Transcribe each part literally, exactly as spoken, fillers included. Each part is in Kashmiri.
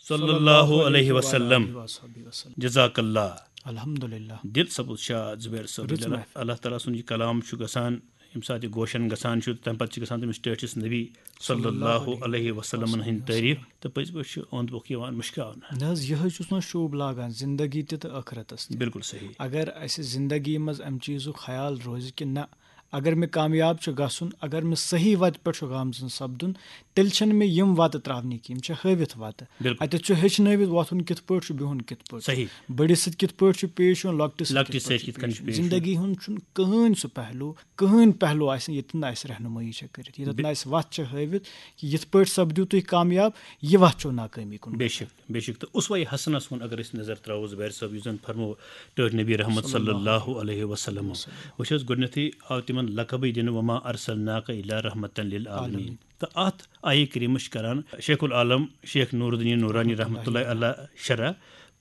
صلی اللہ علیہ وسلم۔ جزاک اللہ۔ الحمدللہ۔ دل سپُد شاد زبیر صٲب۔ رٕژ محفل۔ اللہ تعالیٰ سُنٛد یہِ کلام چھُ گژھان، ییٚمہِ ساتہٕ یہِ گوشن گژھان چھُ، تَمہِ پتہٕ چھِ گژھان تٔمِس ٹٲٹھِس نبی صلی اللہ علیہ وسلمن ہٕنٛدۍ تعریٖف، تہٕ پٔزۍ پٲٹھۍ چھُ اوٚنٛد پوٚکھ یِوان مُشکاونہٕ۔ نہ حظ، یِہوٚے چھُس نہ شوٗب لاگان زندگی تہِ تہٕ ٲخرتس تہِ۔ بِلکُل صحیح۔ اگر اسہِ زندگی منٛز امہِ چیٖزُک خیال روزِ کہِ نہ، اگر مےٚ کامیاب چھُ گژھُن، اگر مےٚ صحیح وتہِ پٮ۪ٹھ چھُ گامزن سپدُن، تیٚلہِ چھنہٕ مےٚ یِم وتہٕ ترٛاونہِ کینٛہہ، یِم چھِ ہٲوِتھ وتہٕ۔ بِلکُل۔ اتٮ۪تھ چھُ ہیٚچھنٲوِتھ وۄتھُن کِتھ پٲٹھۍ چھُ، بِہُن کِتھ پٲٹھۍ چھُ، صحیح۔ بٔڑِس سۭتۍ کِتھ پٲٹھۍ چھُ پیش یُن، لۄکٹِس سۭتۍ لۄکٹِس کِتھ پٲٹھۍ سۭتۍ کِتھ کٔنۍ چھُ چھُ پیش پیش یُن۔ زندگی ہُنٛد چھُنہٕ کٕہٕنۍ سُہ پہلو، کٕہٕنۍ پہلو آسہِ نہٕ ییٚتہِ نہٕ اسہِ رہنمٲیی چھےٚ کٔرِتھ، ییٚتٮ۪تھ نہٕ اسہِ وتھ چھےٚ ہٲوِتھ کہِ یِتھ پٲٹھۍ سپدِو تُہۍ کامیاب، یہِ وتھ چھو ناکٲمی کُن۔ بے شک، بے شک۔ تہٕ اسوہ حسنس کُن اگر أسۍ نظر تراوو زبیر صٲب، یُس زن فرمو ٹٲٹھۍ نبی رحمت صلی اللہ علیہ وسلم۔ وٕچھ حظ، گۄڈٕنیتھٕے آو تِمن لقبٕے دِنہٕ، وما ارسلناک الا رحمتا للعالمین۔ تہٕ اتھ آیہِ کریمس چھِ کران شیخ العالم شیخ نور الدین نورانی رحمت اللہ علیہ شرح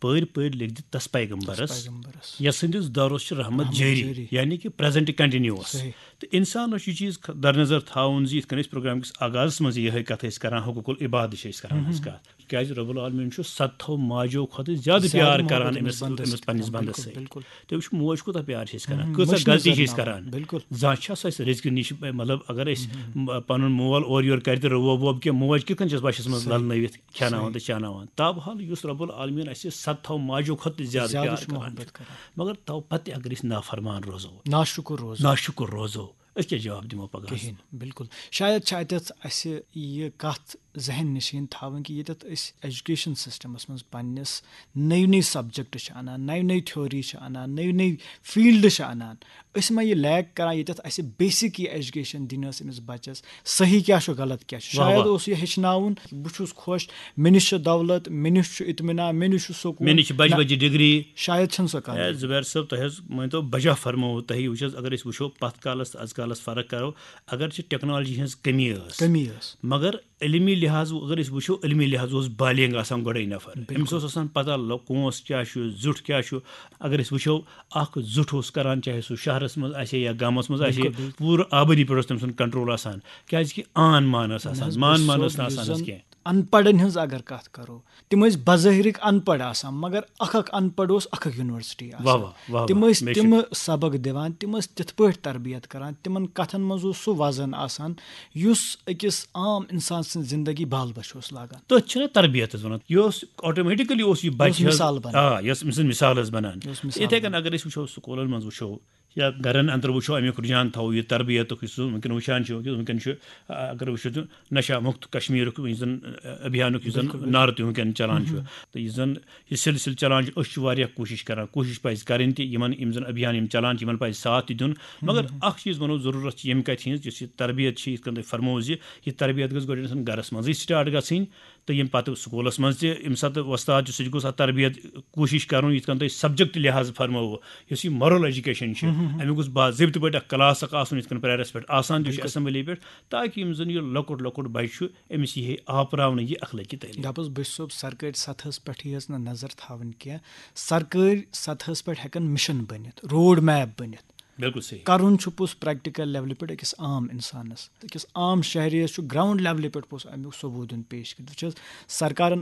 پٲرۍ پٲرۍ لیکھ دِتھ تس پیغمبرس، پیغمبرس۔ یس سٕنٛدِس دورس چھِ رحمت رحمت جٲری، جٲری۔ یعنی کہِ پریزنٹ کنٹینیوس۔ صحیح۔ تہٕ انسانس چھُ یہِ چیٖز خ-، در نظر تھاوُن زِ یِتھ کٔنۍ أسۍ پروگرام کِس آغازس منٛز یِہے کتھ ٲسۍ کران، حقوق العباد چھِ أسۍ کران أزۍ کتھ، کیازِ رب العالمین چھُ ستتھو ماجو کھۄتہٕ زیادٕ زیادٕ پیار محبت کران أمِس أمِس بندس أمِس سۭتۍ پننِس کران۔ بندس بِلکُل، سۭتۍ۔ بِلکُل۔ تٔمِس چھُ موج کوٗتاہ پیار چھِ أسۍ کران، مہم، کۭژاہ مٔشنٕے غلطی چھِ زن أسۍ ناو۔ کران۔ بِلکُل۔ زانٛہہ چھا سۄ اَسہِ رِزقہِ نِش، مطلب اگر أسۍ م-، پنُن مول اورٕ یورٕ کرِ تہٕ رُوو ووب کینٛہہ، موج کِتھ کٔنۍ چھَس بَچَس منٛز صحیح۔ لَلنٲوِتھ کھٮ۪ناوان صحیح۔ تہٕ چاناوان؟ تابحال یُس رب العالمین اَسہِ صدتھو ماجو کھۄتہٕ تہِ زیادٕ زیادٕ پیار چھُ کران محبت چھُ۔ کران۔ مگر تو پتہٕ تہِ اگر أسۍ نافرمان روزو، ناشُکُر روزو۔ ناشُکُر روزو، أسۍ کیٛاہ جواب دِمو پگاہ؟ کِہیٖنۍ، بِلکُل۔ شاید چھِ اَتٮ۪تھ اَسہِ یہِ کَتھ ذہن نِشیٖن تھاوٕنۍ کہِ ییٚتٮ۪تھ أسۍ ایجوکیشن سسٹمس منٛز پننِس نٔوۍ نٔوۍ سبجیکٹ چھِ اَنان، نٔوۍ نٔوۍ تھیوری چھِ اَنان، نٔوۍ نٔوۍ فیلڈ چھِ اَنان، أسۍ ما یہِ لیک کران ییٚتٮ۪تھ اَسہِ بیسک یہِ ایجوکیشن دِنۍ ٲس أمِس بچس، صحیح کیٛاہ چھُ غلط کیٛاہ چھُ؟ واہ، شاید واہ۔ اوس یہِ ہیٚچھناوُن، بہٕ چھُس خۄش، مےٚ نِش چھِ دولت، مےٚ نِش چھُ اطمینان، مےٚ نِش چھُ سکوٗن۔ مےٚ نِش چھِ بجہِ نہ، بجہِ ڈگری۔ شاید چھَنہٕ سۄ کَتھ۔ اے، زبیر صٲب، تۄہہِ حظ مٲنۍ تو بجا فرموو تۄہہِ، وٕچھ حظ، اگر أسۍ وٕچھو پتھ کالس تہٕ از کالس فرق کرو، اگرچہِ ٹیکنالوجی ہٕنٛز کمی ٲس، کمی ٲس۔ مگر علمی لحاظ اگر أسۍ وٕچھو، علمی لحاظ اوس بالینگ آسان گۄڈے نفر۔ بِلکُل۔ أمِس اوس آسان پتہ لو-، کونٛس کیٛاہ چھُ، زیُٹھ کیٛاہ چھُ۔ اگر أسۍ وٕچھو، اکھ زیُٹھ اوس کران، چاہے سُہ شہرس منٛز آسہِ ہے یا گامس منٛز آسہِ ہے، بِلکُل، بِلکُل۔ پوٗرٕ آبٲدی پٮ۪ٹھ اوس تٔمۍ سُنٛد کنٹرول آسان، کیٛازِ کہِ آن مان ٲس نہ آسان، حظ، مان بہٕ مان چھُسو ٲس نہٕ یُس آسان زَن کینٛہہ۔ ان پڑھن ہٕنٛز اگر کتھ کرو، تِم ٲسۍ بظٲہرٕکۍ ان پڑھ آسان، مگر اکھ اکھ ان پڑھ اوس اکھ اکھ یونیورسٹی آسان۔ واہ، واہ، واہ، واہ، تِم ٲسۍ بے شک۔ تِم سبق دِوان، تِم ٲسۍ تِتھ پٲٹھۍ تربیت کران، تِمن کتھن منٛز اوس سُہ وزن آسان یُس أکِس عام انسان سٕنٛز زندگی بال بچ اوس لاگان۔ تٔتھۍ چھِنہ تربیت حظ ونان، یہِ اوس آٹومیٹکلی اوس یہِ بچہِ یہِ اوس حظ، مثال بنان۔ آ، یہِ ٲس أمۍ سٕنٛز مثال حظ بنان۔ یہِ اوس مثال یِتھے بنان۔ کٔنۍ اگر أسۍ وٕچھو، سکوٗلن منٛز وٕچھو یا گرن اندر وٕچھو، امیُک رجحان تھاوو، یہِ تربیتُک یُس وٕنکیٚن وٕچھان چھِ، وٕنکیٚن چھُ، آ، اگر وٕچھو تہٕ نشہ مُکت کشمیرُک یُس زن، آ، ابھیانُک یُس زن بِلکُل، بِلکُل۔ نعرٕ تہِ وٕنکیٚن چلان چھُ، تہٕ یُس زن یہِ سلسلہٕ چلان چھُ، أسۍ چھِ واریاہ کوٗشش کران، کوٗشش پزِ کرٕنۍ تہِ، یِمن یِم زن ابھیان یِم چلان چھِ، یِمن پزِ ساتھ تہِ دیُن۔ مگر اکھ چیٖز ونو، ضروٗرت چھِ ییٚمہِ کتھِ ہٕنٛز، یُس یہِ تربیت چھِ، یِتھ کٔنۍ تۄہہِ فرموو زِ یہِ تربیت گٔژھ گۄڈٕ انسان گرس منٛزٕے سٹارٹ گژھٕنۍ، تہٕ ییٚمہِ پتہٕ سکوٗلس منٛز تہِ ییٚمہِ ساتہٕ وۄستاد چھُ، سُہ تہِ گوٚژھ اتھ تربیت کوٗشش کرُن، یِتھ کٔنۍ تۄہہِ سبجیکٹ لحاظ فرمووُ، یُس یہِ مارل ایجوکیشن چھِ، امیُک گوٚژھ باضٲبطہٕ پٲٹھۍ اکھ کلاس اکھ آسُن، یِتھ کٔنۍ پریرس پٮ۪ٹھ آسان تہِ چھُ، بِلکُل۔ اسمبلی پٮ۪ٹھ، تاکہِ یِم زن یہِ لۄکُٹ لۄکُٹ بچہِ چھُ، أمِس یی ہے آپراونہٕ یہِ اخلٲقی تعلیٖم۔ دَپُس بہٕ چھُسو سرکٲرۍ سطحس پٮ۪ٹھٕے یٲژ نہٕ نظر تھاوٕنۍ کینٛہہ، سرکٲرۍ سطحس پٮ۪ٹھ ہٮ۪کن مشن بٔنِتھ، روڈ میپ بٔنِتھ۔ بِلکُل صحیح۔ کرُن چھُ پوٚز پریکٹیکل لیولہِ پٮ۪ٹھ أکِس عام انسانس، أکِس عام شہریس چھُ گراؤنڈ لیولہِ پٮ۪ٹھ پوٚز امیُک ثبوت دیُن پیش کٔرِتھ۔ وٕچھ حظ، سرکارن